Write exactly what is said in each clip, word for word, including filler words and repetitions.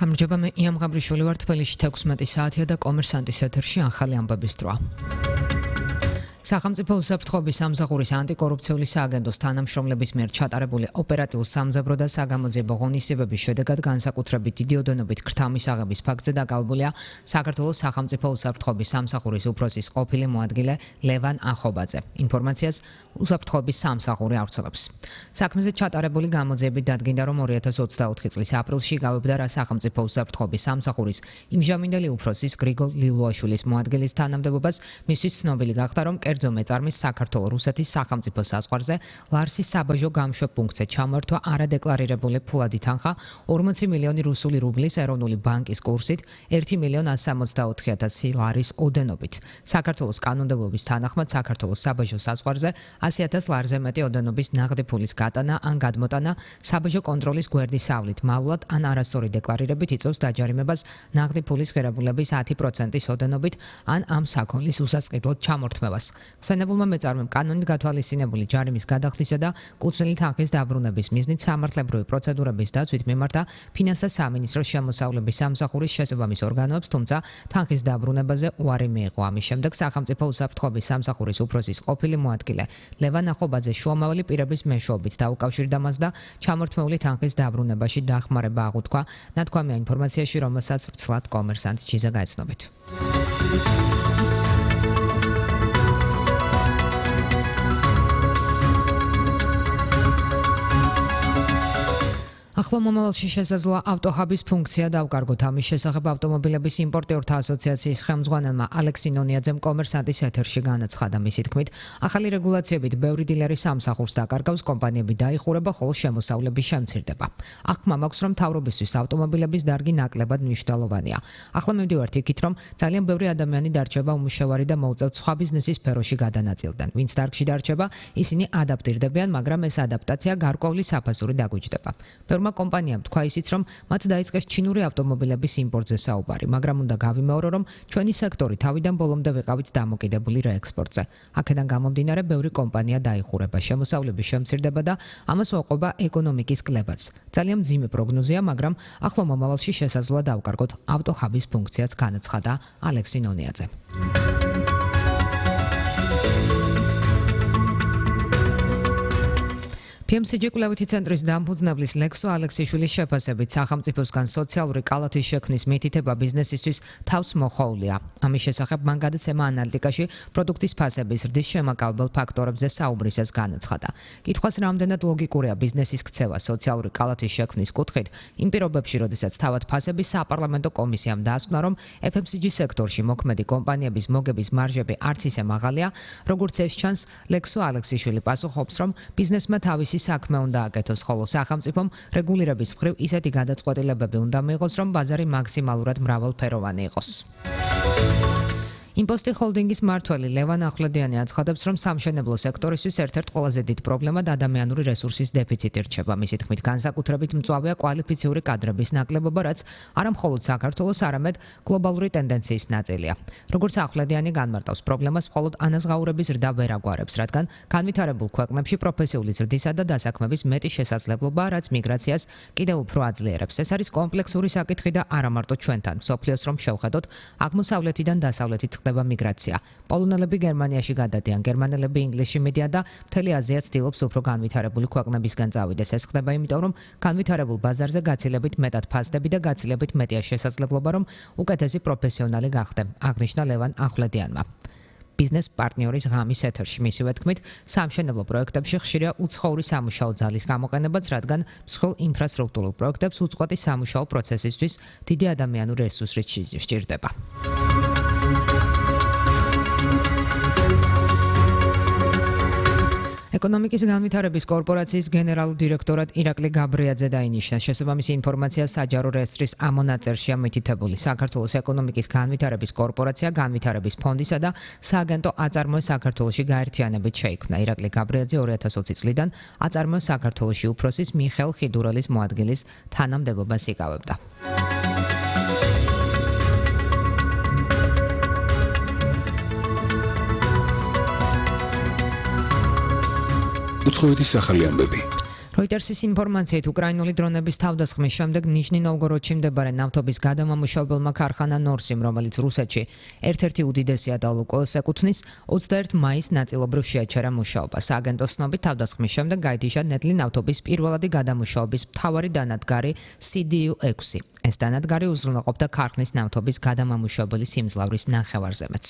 გამარჯობა, მე იამ ღაბრიშვილი ვარ. თბილისში თექვსმეტი საათია და კომერსანტის ეთერში ახალი ამბების დროა. სახელმწიფო უსაფრთხოების სამსახურის ანტიკორუფციული სააგენტოს თანამშრომლების მიერ ჩატარებული ოპერატიულ სამძებრო და საგამოძიებო ღონისძიებების შედეგად განსაკუთრებით დიდი ოდენობით ქრთამის აღების ფაქტზე დაკავებულია საქართველოს სახელმწიფო უსაფრთხოების სამსახურის უფროსის ყოფილი მოადგილე ლევან ახობაძე. ინფორმაციას უსაფრთხოების სამსახური ავრცელებს. საქმეზე ჩატარებული გამოძიებით დადგინდა, რომ ორი ათას ოცდაოთხი წლის აპრილში გავებდა რა სახელმწიფო უსაფრთხოების სამსახურის იმჟამინდელი უფროსის გრიგოლ ლილუაშვილის მოადგილის თანამდებობას, მისთვის ცნობილი გახდა, რომ კერძო მეწარმის საქართველო-რუსეთის სახელმწიფო საზღვარზე ლარსის საბაჟო გამშვებ პუნქტზე ჩამართვა არადეკლარირებული ფულადი თანხა ორმოცი მილიონი რუსული რუბლის ეროვნული ბანკის კურსით ერთი მილიონი ასი სამოცდაოთხი ათასი ლარის ოდენობით. საქართველოს კანონმდებლობის თანახმად საქართველოს საბაჟო საზღვარზე ასი ათას ლარზე მეტი ოდენობის ნაღდი ფულის გატანა ან გადმოტანა საბაჟო კონტროლის გვერდისავლით მალულად ან არასწორი დეკლარირებით იწვევს დაჯარიმებას ნაღდი ფულის ღირებულების ათი პროცენტის ოდენობით ან ამ საქონლის უსასყიდლოდ ჩამორთმევას. ხსენებულმა მეწარმემ კანონით გათვალისწინებული ჯარიმის გადახლისა და კუთვნილი თანხის დაბრუნების მიზნით სამართლებრივი პროცედურების დაცვით მიმართა ფინანსთა სამინისტროს შემოსავლების სამსახურის შესაბამის ორგანოებს, თუმცა თანხის დაბრუნებაზე უარი მიიღო. ამის შემდეგ სახელმწიფო უსაფრთხოების სამსახურის უფროსის ყოფილი მოადგილე ლევან ახობაძე შუამავალი პირების მეშვეობით დაუკავშირდა მას და ჩამორთმეული თანხის დაბრუნებაში დახმარება აღუთქვა. ნათქვამია ინფორმაციაში, რომელსაც ვრცლად კომერსანტ ჯიზა გაეცნობით. ახლო მომავალში შესაძლოა ავტოჰაბის ფუნქცია დავკარგოთ. ამის შესახებ ავტომობილების იმპორტიორთა ასოციაციის ხელმძღვანელმა ალექსი ნონიაძემ კომერსანტის ეთერში განაცხადა. მისი თქმით, ახალი რეგულაციებით ბევრი დილერი სამსახურს დაკარგავს, კომპანიები დაიხურება, ხოლო შემოსავლები შემცირდება. აღქმა მაქვს, რომ მთავრობისთვის ავტომობილების დარგი ნაკლებად მნიშვნელოვანია. ახლა მივდივართ იქით, რომ ძალიან ბევრი ადამიანი დარჩება უმუშევარი და მოუწევთ სხვა ბიზნესის სფეროში გადანაწილდნენ. ვინც დარგში დარჩება, ისინი ადაპტირდებიან, მაგრამ ეს ადაპტაცია გარკვეული საფასური დაგუჯდება. კომპანიამ თქვა ისიც, რომ მათ დაიწყეს ჩინური ავტომობილების იმპორტზე საუბარი, მაგრამ უნდა გავიმეორო, რომ ჩვენი სექტორი თავიდან ბოლომდე ვიყავით დამოკიდებული რეექსპორტზე. აქედან გამომდინარე, ბევრი კომპანია დაიხურება, შემოსავლების შემცირდება და ამას უყვება ეკონომიკის კლებაც. ძალიან მძიმე პროგნოზია, მაგრამ ახლო მომავალში შესაძლოა დავკარგოთ ავტოჰაბის ფუნქციაც, განაცხადა ალექსი ნონიაძე. პი ემ სი ჯი კვლევითი ცენტრის დამფუძნებლის ლექსო ალექსიშვილის შეფასებით სახელმწიფოსგან სოციალური კალათის შექმნის მითითება ბიზნესისთვის თავს მოხოვლია. ამის შესახებ მან გადაცემა ანალიტიკაში პროდუქტის ფასების ზრდის შემაკავებელ ფაქტორებზე საუბრისას განაცხადა. კითხვას რამდენად ლოგიკურია ბიზნესის ქცევა სოციალური კალათის შექმნის კუთხით, იმ პირობებში, როდესაც თავად ფასების საპარლამენტო კომისიამ დაასკვნა, რომ ეფ ემ სი ჯი სექტორში მოქმედი კომპანიების მოგების მარჟები არც ისე მაღალია, როგორც ეს ჩანს, ლექსო ალექსიშვილი პასუხობს, რომ ბიზნესმა თავისი საქმე უნდა აკეთოს, ხოლო სახელმწიფომ რეგულირების მხრივ ისეთი გადაწყვეტილებები უნდა მიიღოს, რომ ბაზარი მაქსიმალურად მრავალფეროვანი იყოს. იმპოსტი ჰოლდინგის მმართველი ლევან ახვლედიანი აცხადებს, რომ სამშენებლო სექტორისთვის ერთ-ერთ ყველაზე დიდ პრობლემად ადამიანური რესურსის დეფიციტი რჩება. მისი თქმით, განსაკუთრებით მწვავეა კვალიფიციური კადრების ნაკლებობა, რაც არა მხოლოდ საქართველოს, არამედ გლობალური ტენდენციის ნაწილია. როგორც ახვლედიანი განმარტავს, პრობლემას მხოლოდ ანაზღაურების ზრდა ვერ აგვარებს, რადგან განვითარებულ ქვეყნებში პროფესიული ზრდისა და დასაქმების მეტი შესაძლებლობა, რაც მიგრაციას კიდევ უფრო აძლიერებს. ეს არის კომპლექსური საკითხი და არა მარტო ჩვენთან, მსოფლიოს რომ შევხედოთ, აღმოსავლეთიდან დასავლეთით ხდება მიგრაცია. პოლონელები გერმანიაში გადადიან, გერმანელები ინგლისში მიდიან და მთელი აზია ცდილობს უფრო განვითარებული ქვეყნებისგან წავიდეს. ეს ხდება იმიტომ, რომ განვითარებულ ბაზარზე გაცილებით მეტად ფასდები და გაცილებით მეტია შესაძლებლობა, რომ უკეთესი პროფესიონალი გახდე, აღნიშნა ლევან ახვლედიანმა. ბიზნეს პარტნიორის ღამის ეთერში მისივე თქმით, სამშენებლო პროექტებში ხშირია უცხოური სამუშაო ძალის გამოყენებაც, რადგან მსხვილ ინფრასტრუქტურულ პროექტებს უწყვეტი სამუშაო პროცესისთვის დიდი ადამიანური რესურსი სჭირდება. ეკონომიკის განვითარების კორპორაციის გენერალურ დირექტორად ირაკლი გაბრიაძე დაინიშნა. შესაბამისი ინფორმაცია საჯარო რეესტრის ამონაწერშია მითითებული. საქართველოს ეკონომიკის განვითარების კორპორაცია განვითარების ფონდისა და სააგენტო აწარმოე საქართველოში გაერთიანებით შეიქმნა. ირაკლი გაბრიაძე ორი ათას ოცი წლიდან აწარმოე საქართველოში უფროსის მიხელ ხიდურელის მოადგილის თანამდებობას იკავებდა. უცხოეთის ახალი ამბები. Reuters-ის ინფორმაციით, უკრაინული დრონების თავდასხმის შემდეგ ნიჟნი-ნოვგოროდში მდებარე ნავთობის გადამამუშავებელმა ქარხანა ნორსიმ, რომელიც რუსეთში ერთ-ერთი უდიდესია და ლუკოილს ეკუთვნის, ოცდაერთი მაისს ნაწილობრივ შეაჩერა მუშაობა. სააგენტოს ცნობით, თავდასხმის შემდეგ გაითიშა ნედლი ნავთობის პირველადი გადამუშავების მთავარი დანადგარი სი დი იუ ექვსი. ეს დანადგარი უზრუნველყოფდა ქარხნის ნავთობის გადამამუშავებელი სიმძლავრის ნახევარზემეც.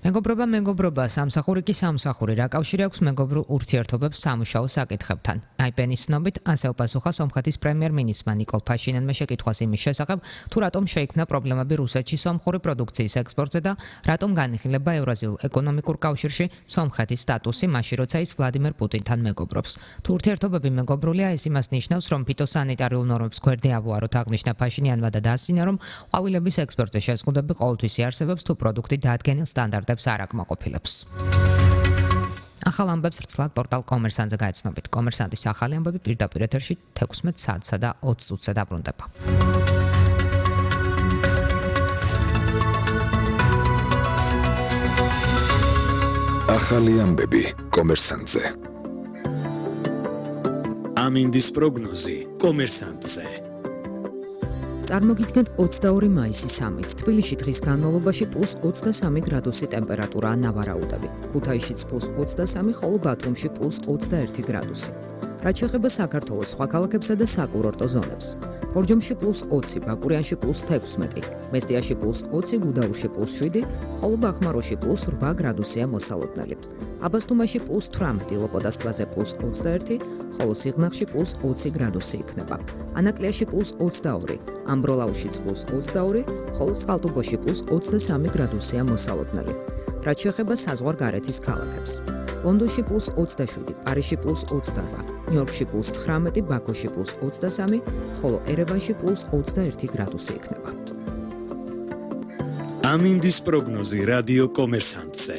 მეგობრობა, მეგობრობა, სამსახური კი სამსახური. რა კავშირი აქვს მეგობრულ ურთიერთობებს სამუშაო საკითხებთან? აიპენის ცნობით, ასე უპასუხა სომხეთის პრემიერ-მინისტრმა ნიკოლ ფაშინიანმა შეკითხვას იმის შესახებ, თუ რატომ შეიქმნა პრობლემები რუსეთში სომხური პროდუქციის ექსპორტზე და რატომ განიხილება ევრაზიულ ეკონომიკურ კავშირში სომხეთის სტატუსი, მაშინ როცა ის ვლადიმერ პუტინთან მეგობრობს. თუ ურთიერთობები მეგობრულია, ეს იმას ნიშნავს, რომ ფიტოსანიტარიულ ნორმებს გვერდი ავუაროთ, აღნიშნა ფაშინიანმა და დაასწინა, რომ ყვავილების ექსპორტზე შეზღუდვები ყოველთვის იარსებებს, თუ პროდუქტი დაადგენილ სტანდარტებს არ აკმაყოფილებს. ახალ ამბებს ვრცლად პორტალ კომერსანტზე გაეცნობით. კომერსანტის ახალი ამბები პირდაპირ ეთერში თექვსმეტ საათსა და ოცი წუთზე დაბრუნდება. ახალი ამბები კომერსანტზე. ამინდის პროგნოზი კომერსანტზე. წარმოგიდგენთ ოცდაორი მაისი სამით. თბილისში დღის განმავლობაში პლუს ოცდასამი გრადუსი ტემპერატურაა ნავარაუდები. ქუთაისშიც პლუს ოცდასამი, ხოლო ბათუმში პლუს ოცდაერთი გრადუსი. რაც შეეხება საქართველოს სხვა ქალაქებსა და საკურორტო ზონებს. ბორჯომში პლუს ოცი, ბაკურიანში პლუს თექვსმეტი, მესტიაში პლუს ოცი, გუდაურში პლუს შვიდი, ხოლო ბახმაროში პლუს რვა გრადუსია მოსალოდნელი. აბასთუმაში პლუს თვრამეტი, ლოპოდას ტბაზე პლუს ოცდაერთი, ხოლო სიღნაღში პლუს ოცი გრადუსი იქნება. ანაკლიაში პლუს ოცდაორი, ამბროლაუშიც პლუს ოცდაორი, ხოლო წყალტუბოში პლუს ოცდასამი გრადუსია მოსალოდნელი. რაც შეეხება საზღვარგარეთის ქალაქებს. ლონდონში პლუს ოცდაშვიდი, პარიზში პლუს ოცდარვა, ნიუ-იორკში პლუს ცხრამეტი, ბაქოში პლუს ოცდასამი, ხოლო ერევანში პლუს ოცდაერთი გრადუსი იქნება. ამინდის პროგნოზი რადიო კომერსანტზე.